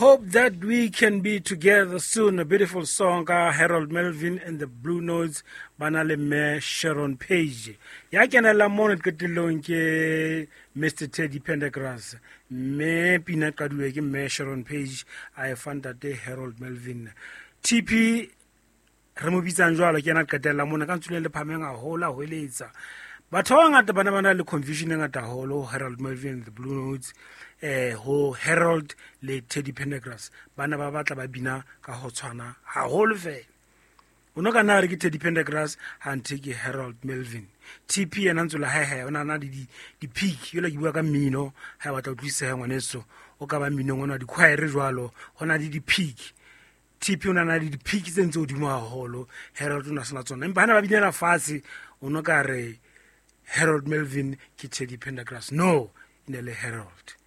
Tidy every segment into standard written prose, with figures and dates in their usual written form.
Hope that we can be together soon. A beautiful song ka Harold Melvin and the Blue Notes ba na le mme Sharon Page. Ya kenela mono qetellong ke Mr Teddy Pendergrass. Mme pina qaduwe ke mme Sharon Page a e fa ntate Harold Melvin. TP re mo bitsang jwalo ke yena qetella mona ka ntsule le phameng haholo a hweletsa batho ba bangata ba ne ba na le confusion e ngata haholo Harold Melvin the Blue Notes ho Harold le Teddy Pendergrass. Ba ne ba batla ba bina ka ho tshwana haholo fela. O no ka nna re ke Teddy Pendergrass ha nthe ke Harold Melvin. TP yena ntse la hae o na na le di-peak yola ke bua ka mmino ha e batla utlwisisa ngwaneso o ka ba mminong ona di-choir jwalo ho na le di-peak. TP o na na le di-peak tse ntse hodimo haholo, Harold o na sena tsona, empa hana ba binela fatshe o no ka re Harold Melvin ke Teddy Pendergrass. No, e ne le Harold.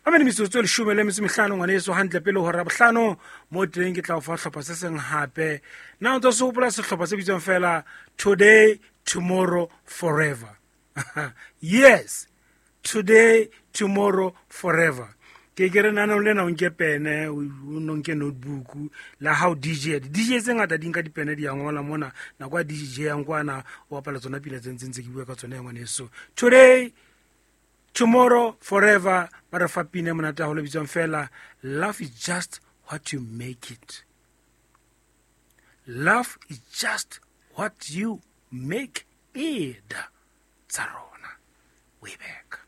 Ba mene metsotso e 15 ngwaneso hantle pele hora bohlano mo teng ke tla o fa hlopha se seng hape. Na o ntse o se hopola sehlopha se bitswang fela Today, Tomorrow, Forever? Yes, Today, Tomorrow, Forever. Ke ke re nana le na o nke pene, o no nke notebook la how DJ, di DJ tse ngata di nka dipene di ya ngola mona nako ya DJ yang kwana o bapala tsona pina tse ntseng tse ke bua ka tsona ya ngwaneso. Today, Tomorrow, Forever, ba re fa pina e monate haholo e bitswang fela Love is just what you make it. Love is just what you make it. Tsa rona. We back.